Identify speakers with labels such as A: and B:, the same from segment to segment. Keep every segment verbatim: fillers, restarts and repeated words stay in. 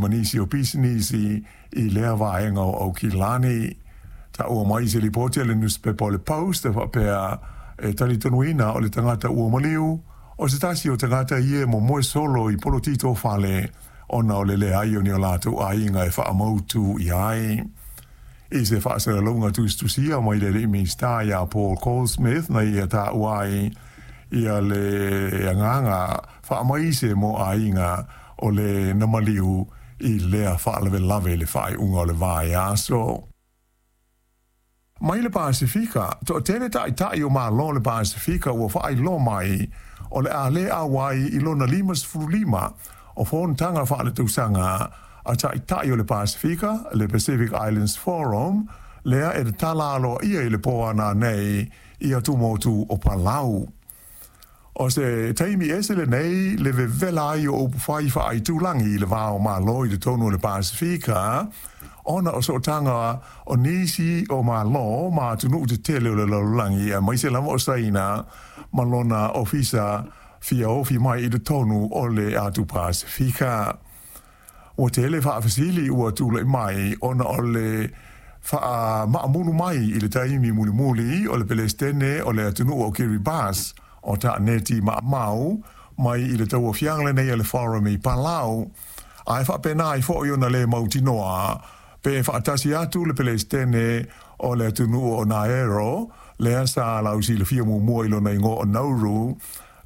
A: ma nisi o pisinisi i lea vaega o Aukilani. Taua mai se lipoti a le nusipepa o le Post e faapea e talitonuina o le tagata ua maliu o se tasi o tagata ia e momoe solo i polotito fale ona o le leai o ni o latou aiga e faamautu i ai. I se faasalalauga tusitusia mai le alii Minisita ia Paul Goldsmith na ia taua ai ia le agaga faamaise mo aiga o le na maliu i lea faalavelave i le faaiuga o le vaiaso. Mai le Pasefika, toatele ta'ita'i o Malo o le Pasefika ua faailoa mai o le a le auai i lona limasefulu lima o fonotaga faaletausaga a ta'ita'i o le Pasefika, le Pacific Islands Forum, lea e tatala aloaia i le po a nanei i atumotu o Palau. O se taimi ese lenei le vevela ai o upufai faaitulagi i le va o Malo i totonu o le Pasefika, ona o sootaga o nisi o Malo ma atunuu tetele o le lalolagi aemaise lava o Saina ma lona ofisa fia ofi mai i totonu o le atu Pasefika. Ua tele faafesili ua tulai mai ona o le faamaamulu mai i le taimi mulimuli o le Pelesitene o le atunuu o Kiribati o Taneti Maamau mai i le tauaofiaga lenei a le Forum i Palau, ae faapena ai foi ona le mautinoa pe faatasi atu le Pelesitene o le atunuu o Naero, lea sa lausilafia muamua i lona igoa o Nauru,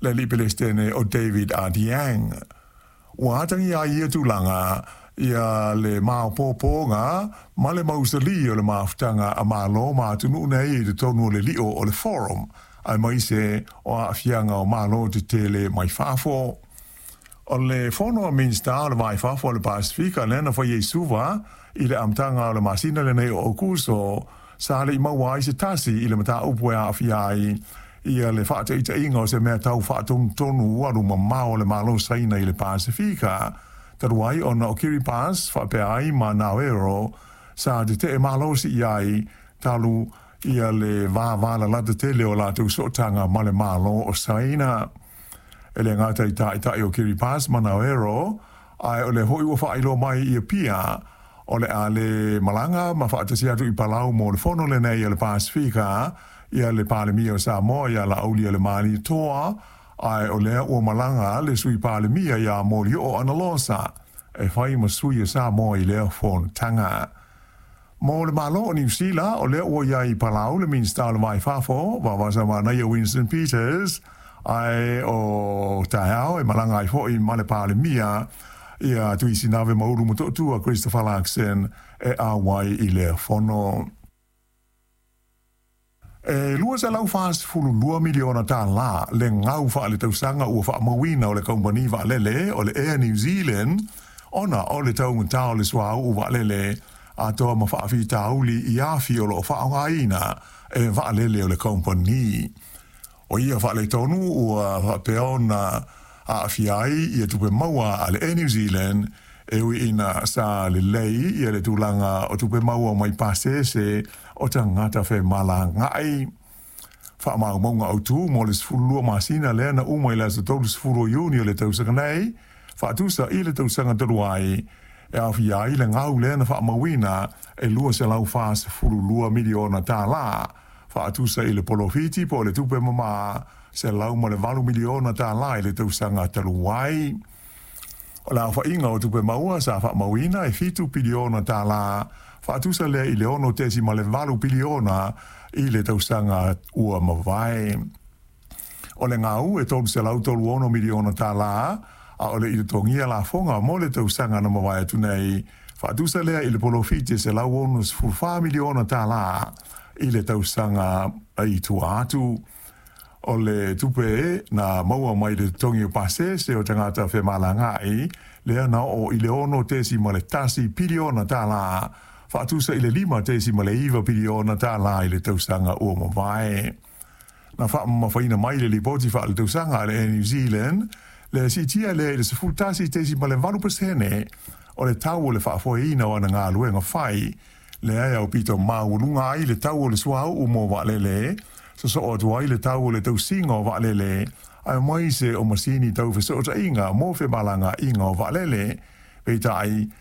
A: le alii Pelesitene o David Adeang. Ua atagia ai ia tulaga ia le maopoopoga ma le mausali o le mafutaga a Malo ma atunuu nei i totonu o le lio o le Forum, aemaise o aafiaga o Malo tetele mai fafo. O le fono a Minisita o le Va i Fafo o le Pasefika lea na faia i Suva i le amataga o le masina lenei o Aokuso, sa le i maua ai se tasi i le mataupu e aafia ai ia le faataitaiga o se mea tau faatonutonu alu mamao a le Malo Saina i le Pasefika, talu ai ona o Kiribati faapea ai ma Naero sa tetee malosi i ai talu ia le vavalalata tele o latou sootaga ma le Malo o Saina. E le gata i ta'ita'i o Kiribati ma Naero, ae o lea foi ua faailoa mai i Apia o le a le malaga ma faatasi atu i Palau mo le fono lenei a le Pasefika ia le Palemia o Samoa ia Laaulialemalietoa, ae o lea ua malaga le Sui Palemia ia Molioo Analosa e fai ma sui o Samoa i lea fonotaga. Mo le Malo o Niu Sila, o lea ua i ai i Palau le Minisita o le Va i Fafo, Vaovasamanaia Winston Peters, ae o taeao e malaga ai foi ma le Palemia ia Tuisinave Maulu Motootua Christopher Luxon e auai i lea fono. E lua selau fasefulu lua miliona tālā le gau faaletausaga ua faamauina o le kamupani vaalele o le Air New Zealand ona o le taugatā o le suauu vaalele atoa ma faafitauli i afi o loo faaaogaina e vaalele o le kamupani. O ia faaletonu ua faapea ona aafia ai ia tupe maua a le Air New Zealand, e ui ina sa lelei ia le tulaga o tupe maua mai pasese o tagata femalagaai. Faamaumauga autu mo le sefululua masina lea na uma i le aso tolusefulu o Iuni o le tausaga nei, faatusa i le tausaga talu ai, e aofia ai le gau lea na faamauina e lua selau fasefululua miliona tālā, faatusa i le polofiti po o le tupe mamā selau ma le valu miliona tālā i le tausaga talu ai. O le aofaiga o tupe maua sa faamauina e fitu piliona tālā, faatusa lea i le ono tesi ma le valu piliona i le tausaga ua mavae. O le gau e tolu selau tolu ono miliona tālā, a o le i totogia lafoga mo le tausaga na mavae atu nei, faatusa lea i le polofiti e selau ono sefulu fa miliona tālā i le tausaga i tua atu. O le tupe na maua mai le totogi o pasese o tagata femalagaai lea na oo i le ono tesi ma le tasi piliona tālā, faatusa i le lima tesi ma le iva piliona tālā i le tausaga ua mavae. Na faamamafaina mai le lipoti faaletausaga a le Air New Zealand le siitia lea i le sefulu tasi tesi ma le valu pasene o le tau o le faafoeina o ana galuega fai, lea e aupito maualuga ai le tau o le suauu mo vaalele, sosoo atu ai le tau o le tausiga o vaalele, aemaise o masini tau fesootaiga mo femalagaaiga o vaalele. Peitai